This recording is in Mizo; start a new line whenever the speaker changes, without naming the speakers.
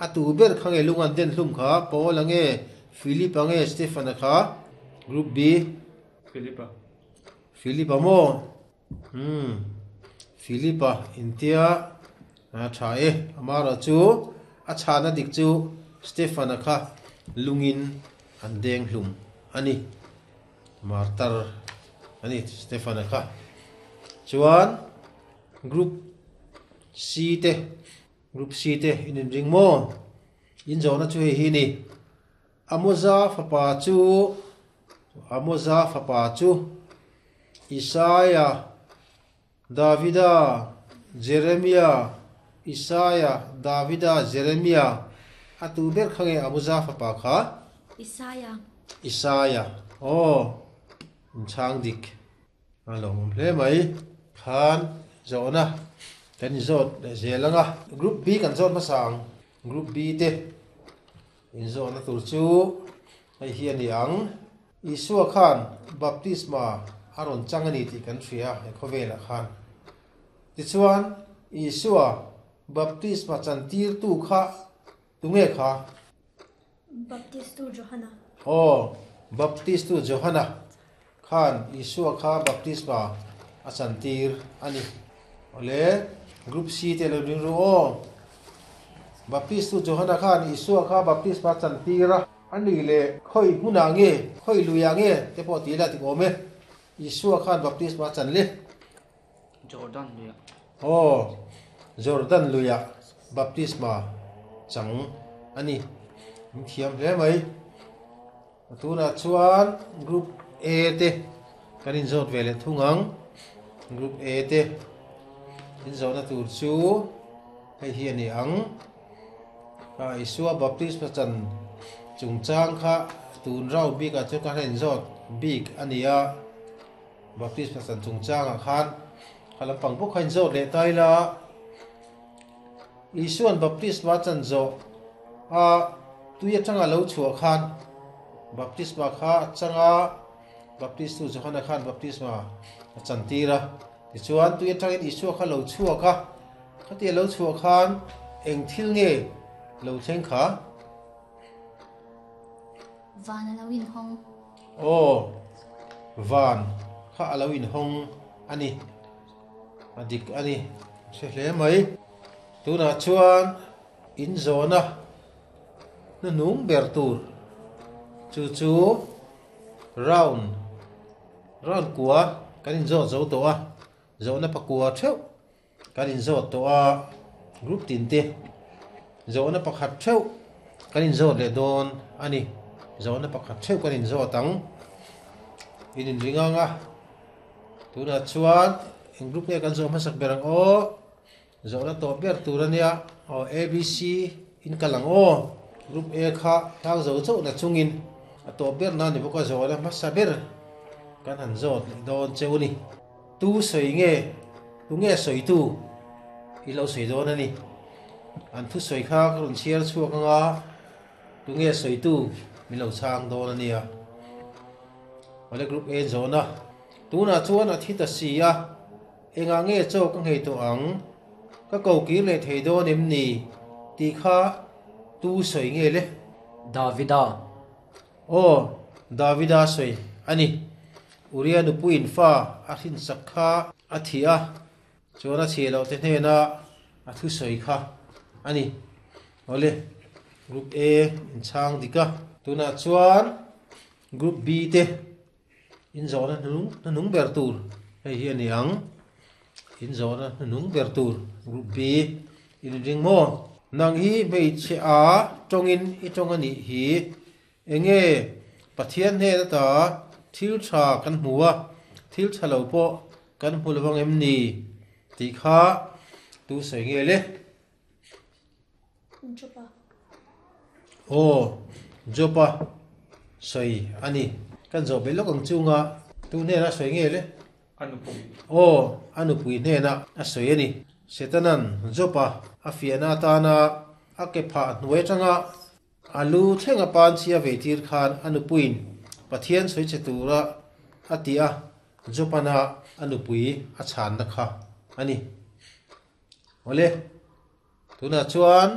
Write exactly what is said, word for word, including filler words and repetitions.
A tu ber kha nge lung an den hlum kha Paul-a nge Philip-a nge Stephen-a kha Group B
Philip-a
Philip-a maw umm Philip-a intia a tha e amaherawhchu a chhana dik chu Stephen-a kha lungin an deng hlum a ni martar a ni Stephen-a kha chuan Group C te Group C te in inring maw in zawhna chu hei hi ni Amoza fapa chu Amoza fapa chu Isaia Davida Jeremia Isaia Davida Jeremia a tu ber kha nge Amoza fapa kha
Isaia
Isaia aw inchhang dik a lo awm hle mai khan zawhna kan inzawt leh zel ang a Group B kan zawt hmasa ang Group B te inzawhna tur chu hei hi a ni ang Isua khan baptisma a rawn chang a ni tih kan hria he khawvelah khan tichuan Isua baptisma chantirtu kha tunge kha
Baptistu Johana
aw Baptistu Johana khan Isua kha baptisma a chantir a ni awle Group C te lo ring ru aw Baptistu Johana khan Isua kha baptisma chantir a a ni leh khawi hmunah nge khawi luiah nge te pawh tih ila tik awm e Isua khan baptisma chan le
Jordan luiah
aw Jordan luiah baptisma chang a ni in thiam hle mai tunah chuan Group A te kan inzawt ve leh thung ang Group A te inzawhna tur chu hei hi a ni ang a Isua baptisma chan chungchang kha tun round bikah chuan ka han inzawt bik a ni a baptisma chan chungchangah khan kha lampang bawk kha inzawt leh ta ila Isuan baptisma chan zawh a tui atanga lo chhuah khan baptisma kha a changa Baptistu Johana khan baptisma a chantir a tichuan tui atangin Isua kha lo chhuak a khati a lo chhuah khan eng thil nge lo thleng kha
Van a lo inhawng
aw van kha a lo inhawng a ni a dik a ni hre hle mai tunah chuan inzawhna hnuhnung ber tur chu chu round round kua kan inzawt zo tawh a zawhna pakua theuh kan inzawt tawh a group tin te zawhna pakhat theuh kan inzawt leh dawn a ni zawhna pakhat theuh kan inzawt ang in inring ang a tunah chuan eng group nge kan zawh hmasak ber ang aw zawhna tawh ber tur a nia aw A B C in kal ang aw Group A kha hlang zo chauh na chungin a tawh ber na ni bawk a zawhna hmasa ber kan han zawt leh dawn cheu a ni tu sawi nge tu nge sawi tu i lo sawi dawn a ni an thu sawi kha ka rawn chhiar chhuak anga tu nge sawi tu min lo chhang dawn a nia awle Group A zawhna tunah chuan a thi ta si a engah nge chaw ka nghei tawh ang ka ko kir leh thei dawn em ni tih kha tu sawi nge le
Davida
aw Davida sawi a ni Uria nupuiin fa a hrinsak kha a thi a chuan a chhiah loh te hnena a thu sawi kha a ni awle Group A inchhang dik a tunah chuan Group B te inzawhna hnung hnung ber tur hei hi a ni ang inzawhna hnung ber tur Group B inring maw nang hi hmeichhe a tawngin i tawng a nih hi enge Pathian hnena ta thil tha kan hmu a thil tha lo pawh kan hmu lovang em ni tih kha tu sawi nge le
Jopa
aw Jopa sawi a ni kan zawh be lawk ang chunga tu hnena sawi nge le
A nupui
aw a nupui hnena a sawi a ni Setanan Jopa a fiahna atana a ke phah hnuai atanga a lu thlenga pan chhia vei tir khan a nupuiin Pathian sawi che tura a ti a Jopana a nupui a chhanna kha a ni awle tunah chuan